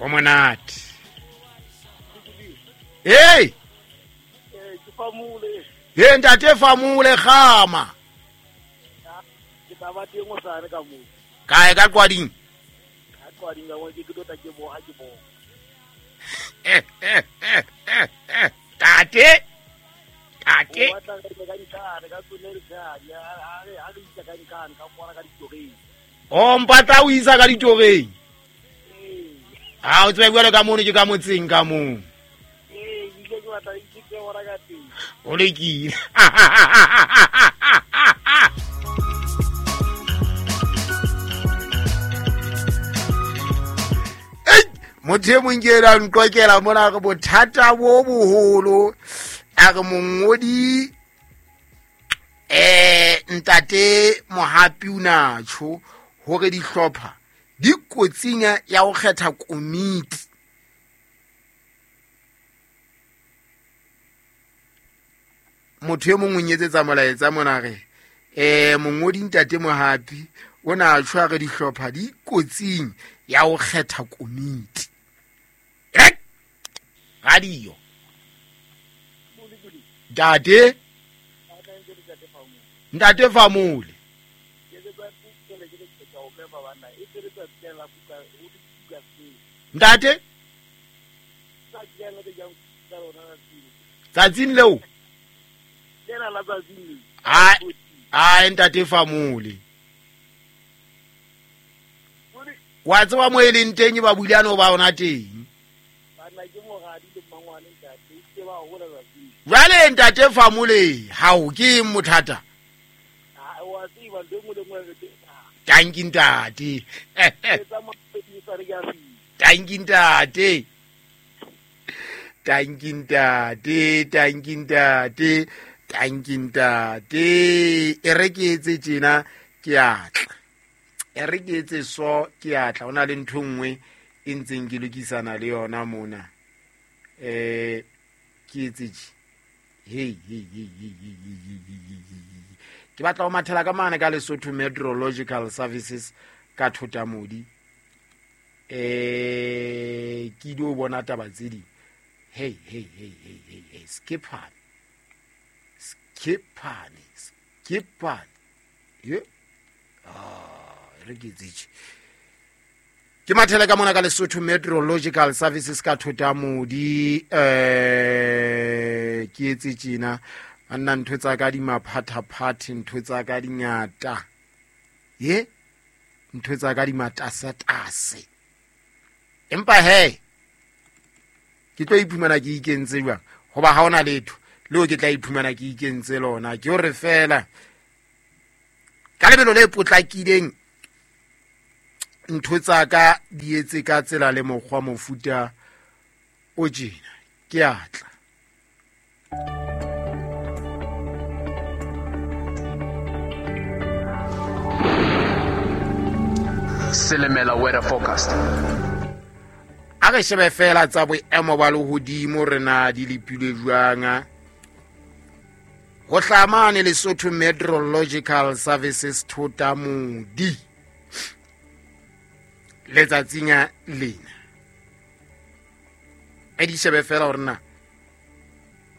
Ho monate. Hey! Ke famole. He ntate famole kgama. Ke tla ba teng hosane ka moo. Kae ka Qwading? Ka Qwading ka moo ke tlo tla ke boha ke bona. Tate. Tate. O batla re ka ntlhane ka tsone re tsaya a re a re isa ka ntlhane ka kwana ka ditoreng. O mpatla o isa ka ditoreng. Ee. Ha o tsebe jwalo ka mono ke ka motseng ka moo. Ee, ile ke batla ke ke bona ka teng. O lekile. Ei, motho e mong ke ena a nqokela mona re bothata bo boholo a re mongodi ntate Mohapi o na tjho hore dihlopha di kotsing ya ho kgetha komiti. Motho e mong o nyetsetsa molaetsa mona re mongodi ntate Mohapi o na tjho a re dihlopha di kotsing ya ho kgetha komiti. Radio. Ntate. Ntate Famole. Ntate. Tsatsing leo. Ai ntate Famole. Wa tseba mo e leng teng ba bulane ba ona teng. Jwale ntate Famole, hao ke mothata. Tanki ntate. Tanki ntate. Tanki ntate, tanki ntate, tanki ntate. E re ke etse tjena ke atla. E re ke etse so ke atla. Ho na le ntho nngwe e ntseng ke lokisana le yona mona. Ke etse tje. Hey hey hey hey hey hey. Ke batla ho mathela ka mane ka Lesotho Meteorological Services ka Thotamodi. Ke dio bona taba tse ding. Hey hey hey hey hey hey skipane. Skipane, skipane. Ye. Re ke tsitse. Ke mathela ka mona ka Lesotho Meteorological Services ka Thotamodi. Ke etse tjena. Anna ntho tsa ka di maphathaphathe, ntho tsa ka di ngata. Ye? Ntho tsa ka di matasatase. Empa he ke tlo iphumana ke ikentse jwang? Hoba ha ona letho leo ke tla iphumana ke ikentse lona. Ke hore fela ka lebelo le potlakileng ntho tsa ka di etse ka tsela le mokgwa mofuta o tjena. Ke atla. Silimela weather forecast. A re shebe fela tsa boemo ba lehodimo re na di lepilwe jwang. Ho hlamane Lesotho Meteorological Services Thotamodi letsatsing lena. E di shebe fela hore na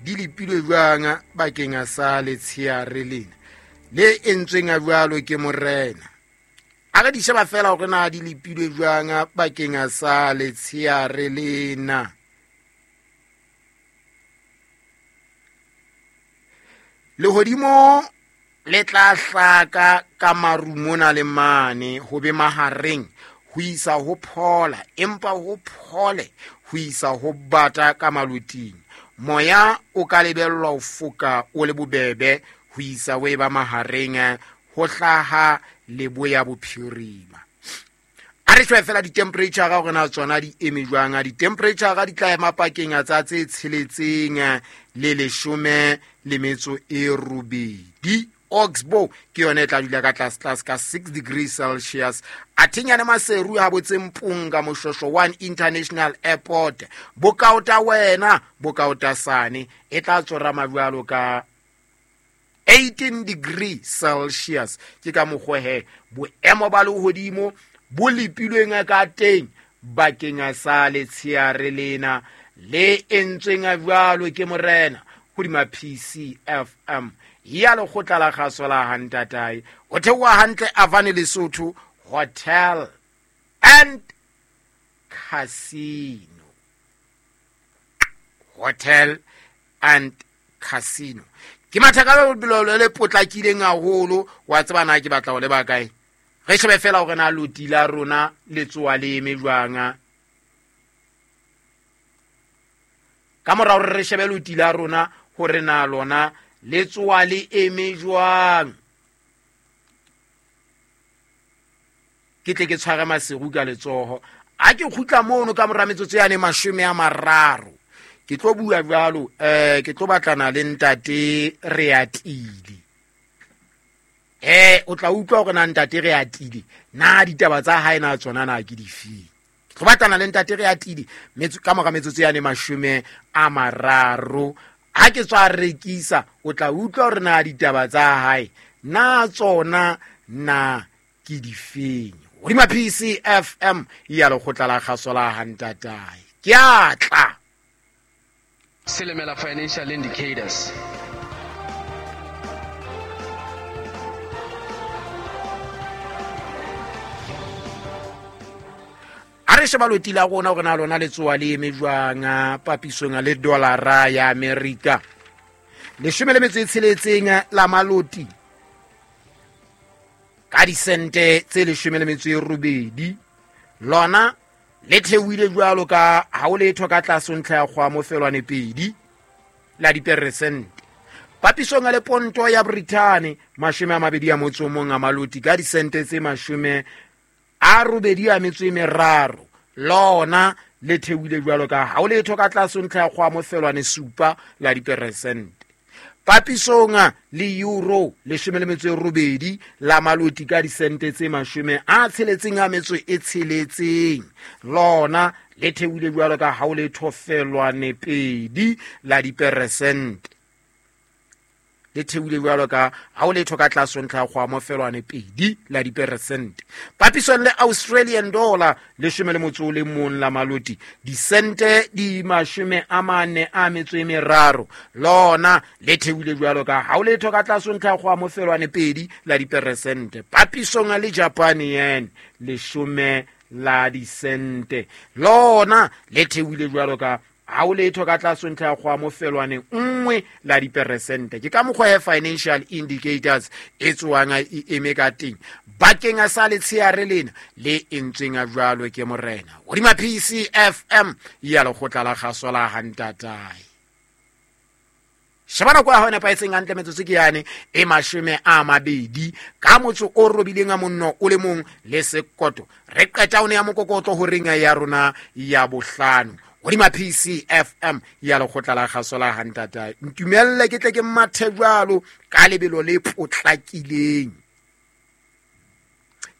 di lepilwe jwang bakeng sa letsheare lena le entsweng a jwalo ke morena. A re di sheba fela hore na di lepilwe jwang bakeng sa letsheare lena. Lehodimo le tla hlaka ka maru mona le mane ho be mahareng ho isa ho phola, empa ho phole ho isa ho bata ka maloting. Moya o ka lebellwa ho foka o le bobebe ho isa ho eba mahareng ho hlaha leboya bophirima. A re shebe fela di-temperature hore na tsona di eme jwang. Di-temperature di tla ema pakeng tsa tse 6 le 18. Oxbow ke yona e tla dula ka tlase tlase ka 6 degrees Celsius. Athinyane Maseru ha botse Mpunga Moshosho 1 International Airport. Bokaota wena, bokaota sane e tla tsorama jwalo ka 18 degrees Celsius. Ke ka mokgwa he boemo ba lehodimo bo lepilweng ka teng bakeng sa letsheare lena le entsweng jwalo ke morena hodima PCFM ya lekgotla la kgaso la Hantatae. O theoha hantle Avane Lesotho Hotel and Casino. Hotel and Casino. Ke matha ka lebelo le potlakileng haholo, wa tseba na ke batla ho leba kae. Re shebe fela hore na loti la rona le tsoa le eme jwang. Ka mora hore re shebe loti la rona hore na lona le tsoa le eme jwang, ke tle ke tshware Maseru ka letsoho. A ke kgutla mono ka mora metsotso yane 30, ke tlo bua jwalo, ke tlo batlana le ntate Reatile. O tla utlwa hore na ntate Reatile na ditaba tsa hae na tsona na ke difeng. Ke tlo batlana le ntate Reatile ka mora metsotso yane 30. Ha ke tswa rekisa, o tla utlwa hore na ditaba tsa hae na tsona na ke difeng. Hodima PCFM ya lekgotla la kgaso la Hantatae. Ke a tla. Silimela Financial Indicators. A re sheba loti la rona hore na lona le tsoa le eme jwang papisong le dollara ya Amerika. 16 la maloti ka disente tse 18, lona le theohile jwalo ka ha o letho ka tlase ntlha ya kgwamo felwane 2 la diperesente. Papisong le ponto ya Britain 21 a maloti ka disente tse 83, lona le theohile jwalo ka ha o letho ka tlase ntlha ya kgwamo felwane 7 la diperesente. Papisong le euro 18 la maloti ka disente tse 66, lona le theohile jwalo ka ha o letho felwane 2 la diperesente. Le theohile jwalo ka ha o letho ka tlase ntlha ya kgwamo felwane 2 la diperesente. Papisong le Australian dollar 11 la maloti disente di 43, lona le theohile jwalo ka ha o letho ka tlase ntlha ya kgwamo felwane 2 la diperesente. Papisong le Japan yen 10 la disente, lona le theohile jwalo ka ha o letho ka tlase ntlha ya kgwamo felwane 1 la diperesente. Ke ka mokgwa ya Financial Indicators e tswang e eme ka teng bakeng sa letsheare lena le entsweng jwalo ke morena hodima PCFM ya lekgotla la kgaso la Hantatae. Sheba nako ya hao e nepahetseng hantle, metsotso ke yane e 20 ka motso o robileng a monno o le mong le sekoto. Re qeta o ne ya mokokotlo horeng ya rona ya bohlano hodima PCFM ya lekgotla la kgaso la Hantatae. Ntumelle ke tle ke mathe jwalo ka lebelo le potlakileng.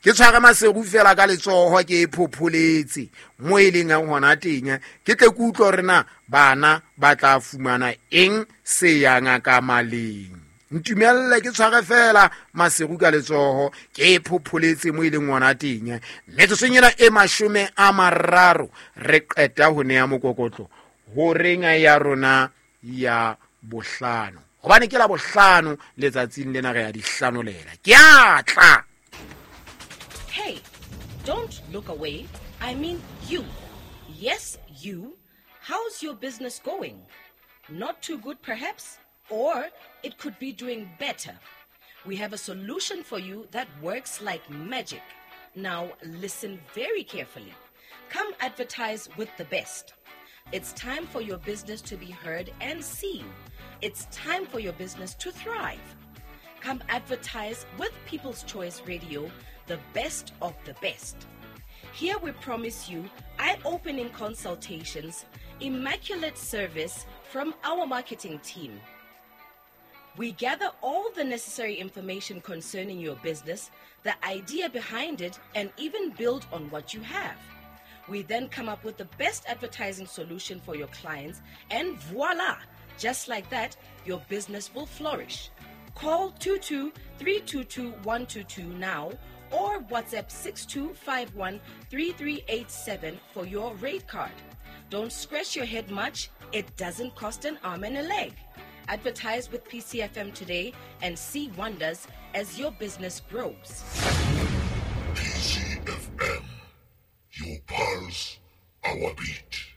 Ke tshware Maseru fela ka letsoho ke e phopholetse mo e leng hona teng, ke tle ke utlwe hore na bana ba tla fumana eng se yang ka maleng. Ntumelle ke tshware fela Maseru ka letsoho ke e phopholetse mo e leng hona teng. Metsotsong ena e 30 re qeta ho neha mokokotlo horeng ya rona ya bohlano, hobane ke la bohlano letsatsing lena re ya di hlanolela. Ke a tla. Hey, don't look away. I mean you. Yes, you. How's your business going? Not too good, perhaps? Or it could be doing better. We have a solution for you that works like magic. Now listen very carefully. Come advertise with the best. It's time for your business to be heard and seen. It's time for your business to thrive. Come advertise with People's Choice Radio, the best of the best. Here we promise you eye-opening consultations, immaculate service from our marketing team. We gather all the necessary information concerning your business, the idea behind it, and even build on what you have. We then come up with the best advertising solution for your clients, and voila! Just like that, your business will flourish. Call 22 322 122 now Or WhatsApp 6251 3387 for your rate card. Don't scratch your head much, it doesn't cost an arm and a leg. Advertise with PCFM today and see wonders as your business grows. PCFM, your pulse, our beat.